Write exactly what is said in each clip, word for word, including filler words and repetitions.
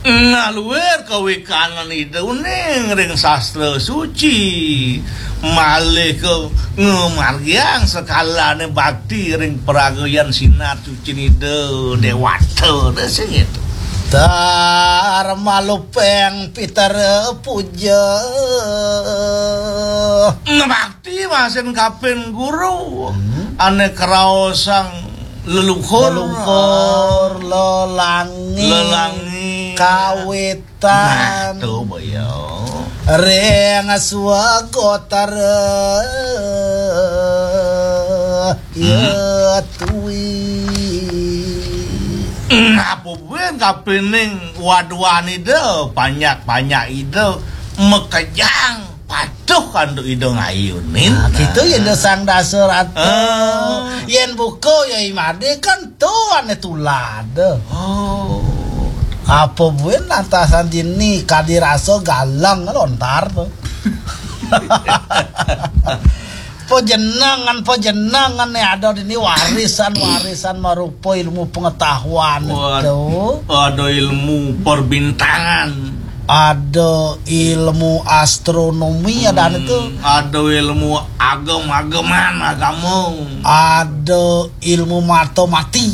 Ngaluir kawikanan Ida uning ring sastra suci, malih ka ngamargiang sekalane bakti ring paragayan sinar sucin Ida Dewata, sing itu. Tar malupeng pitara puja. Bakti masin kapin guru, hmm, ane kraosang leluhur. Leluhur, lelangi, lelangi, kawitan. Nah, to, boya. Ring swagotara. Hmm. Ya tui. Apa buin kapining waduan Ida, panyak-panyak Ida, makejang patuh antuk Ida ngayunin. Nah, gitu ya, Ida Sang Dasarata. Ah. Yen buka ya imade kan to ane tulad. Oh. Apa buin lantasan dini kadi rasa galang lontar to. Pajenengan, pajenengan ne ada dini warisan, warisan marupa ilmu pengetahuan. Wah, itu ada ilmu perbintangan. Ada ilmu astronomi, ada anu tu. Hmm, ada ilmu agem-ageman, agama. Ada ilmu mata mati.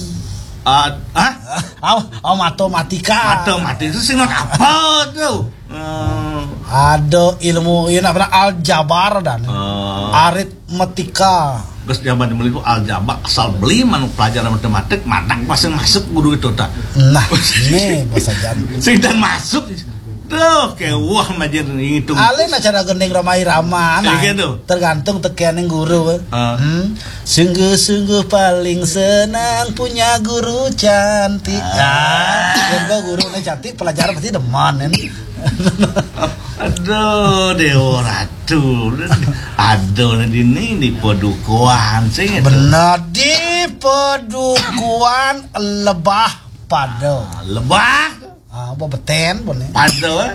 Ad-, hah? Oh, oh, matematika. Matematika itu sing apa tu? Hmm. Ada ilmu, ya, nak pernah aljabar dan, oh, aritmetika. Terus zaman dulu itu aljabar, asal beli manuk pelajaran matematik, manak masih masuk guru itu tak. Nah, ini bahasa Jawa. Sing dan masuk. Tuh, kayak wah, majer ngitung. Alin acara gending Rhoma Irama, nah, iya, gitu. Tergantung tekianing guru. Ah. Hmm. Sungguh-sungguh paling senang punya guru cantik. Ah. Ah, yen gua guru ne cantik, pelajaran pasti demen, kan? Aduh, Dewa Ratu. Aduh, dini di Padukuhan sing itu. Bener, di Padukuhan Lebah Pada. Ah, Lebah. Ah, apa beten, bone? Pada, eh?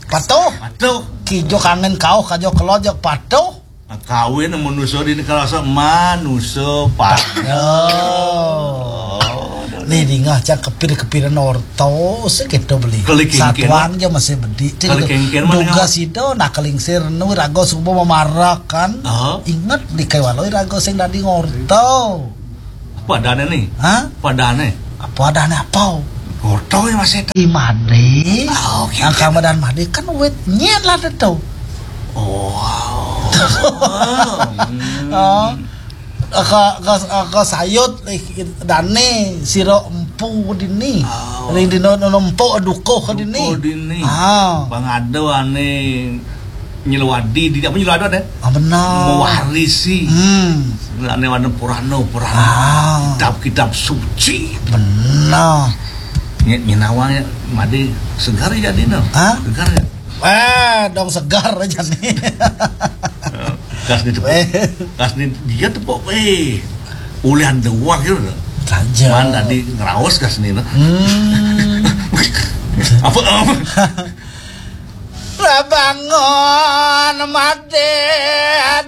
Patuh. Patuh. Kijo kangen kauh, kajo kelod, jeg patuh. Nah, kawin manusa dini karasa manusa pada. Oh. Oh, nih, dingeh cang kepir-kepiran orta, sing kita beli. Kali kengken. Satuan aja masih bedik. Kali kengken mana? Dugas ida, nah, kelingsir, nu, raga suba mamarak, kan? Oh. Inget, di kewalo raga sing dadi ngorta. Padane nih? Hah? Padane? Padane apa? Orta ya masih. I made. Oh, gitu. Angka madan made kan wit nyet lah tetu. Oh. Hmm. Oh. Ka, ka, ka sayut, eh, dane sira empu dini. Oh. Ring dina empu dukuh dini. Dukuh dini. Ah. Pangada ane nyelwadi, di apa nyelwadi ade? Ah, benar. Mewarisi. Hmm. Ane wana purana, purana. Ah. Kitab-kitab suci. Benar. Nye-, nyenawa made segar ya dina. Hah? Segar ya. Eh, dong segar aja nih. Kas ni tepuk. Eh. Kas ni dia tepuk, eh. Ulian dua gitu. Saja. Man tadi ngeraos kas ni, nah. Hmm. Apa, apa? Rabangon made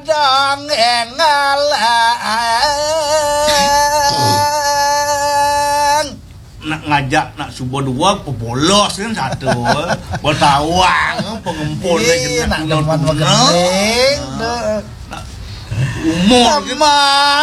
dong engalang. Nak ngajak, nak suba dua, pebolos kan satu. Betawang, pengempul. Ih, nak demen begending, deh. Umur kan. Sama.